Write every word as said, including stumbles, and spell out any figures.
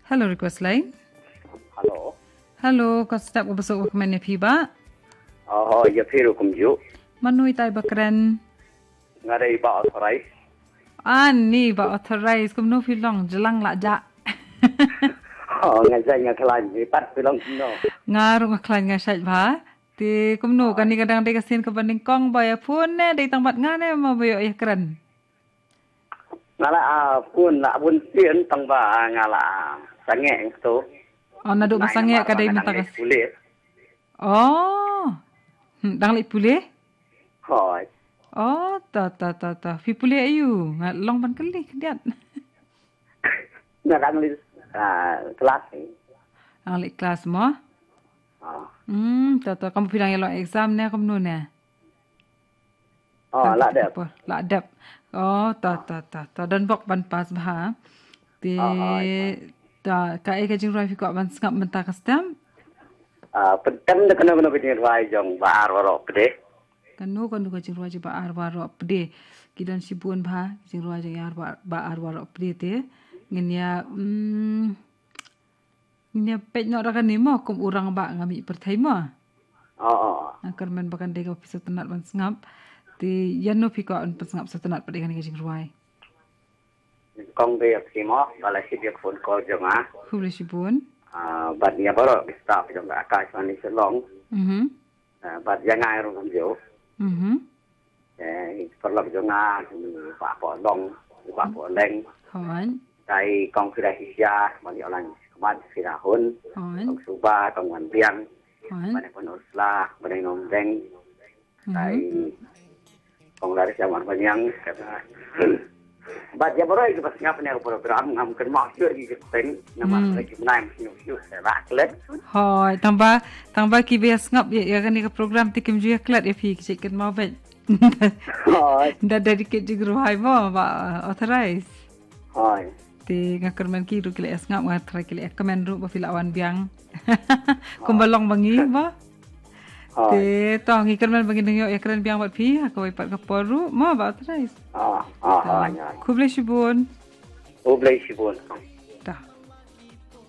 Hello, request line. Hello. Hello, ka step ko besok ko kmen ya phi ba? Oh, ya phi rukum ju. Manu itai ba kren? Nga dei ba authorized. Ani ba authorized, kumno phi long, jelang la ja. Oh, nga jai nga klan, ni pat phi long kumno. Nga rung klan nga shait ba. Ti kumno, kani ka dang dei ka sien ka ba nyngkong ba ya phone ne, dei tang bat nga ne, ma ba ya kren. Nga la, ah, phone la bun sien tang ba, ah, nga la, ah, sangeh tu. Oh, naduh ba sangeh ka dei mynta ka. Pule. Oh. Hmm, dang leh pule? Hoi. Oh, ta, ta, ta, ta. Phi pule ayu, nga long ban kylli khyndiat. Nga dang leh, ah, kelas ni. Dang leh kelas mo? Ah. Hmm, ta, ta, kam phi dang ya long exam ne, kumno ne? Oh, la dep. La dep. Oh, ta, ta, ta, ta. Don bok ban pass bha. Ti, ta, kaei ka jingrwai phi kwah ban sngap mynta ka step? Ah, pyntem da kano kano ka jingrwai jong Bah Ar Waroh Pde. Kano kano ka jingrwai jong Bah Ar Waroh Pde. Ki don shibun bha, jingrwai jong Bah Ar Waroh Pde te. Ngin ya, mm, ngin ya peit noh da kane mo, kum u rangbah nga mih pyrthei mo. Oh, oh. Nga kyrmen ba kan dei ka pisa tynat ban sngap. Ti, ïano phi kwah ban pynsngap sa tynat pat ïa kane ka jingrwai. Kong dei ïa phi mo, ba la shit ïa phone call jong nga. Khublei shibun. Ah, bad ïa baroh ki staff jong ka Akashvani Shillong. Mhm. Ah, bad ïa nga ruh kumjuh. Mhm. Eh, paralok jong nga, Bah Poh Long, Bah Poh Leng. Hoi. Dei kong Fira Hisia, mani orang sekemat Fira Hun. Hoi. Kong Suba, kong Wan Biang. Hoi. Mani pun Ursula, mani Nom Deng. Dei kong Laris Amar Banyang, kata. Bad ïa baroh ki ba sngap ne program, ngam kynmaw shuh ki kyrteng, namar ki bnai sngap shuh, ba klet. Hoi, tang ba, tang ba ki ba sngap ïa, ïa kane ka program te kim ju ïa klet ïa phi ki kynmaw bad. Hoi. Da dedicate jingrwai mo, ba authorize. Hoi. Te nga kyrmen ki ruh ki la sngap, nga try ki la kmen ruh ba phi la wan biang. Kumba long ba ngi ba. Hoi. Te to ngi kyrmen ba ngin ïoh ïa kren biang bad phi ha kawei pat ka por ruh mo, ba authorize. Ah, ah, ah, ïa. Khublei shibun. Khublei shibun.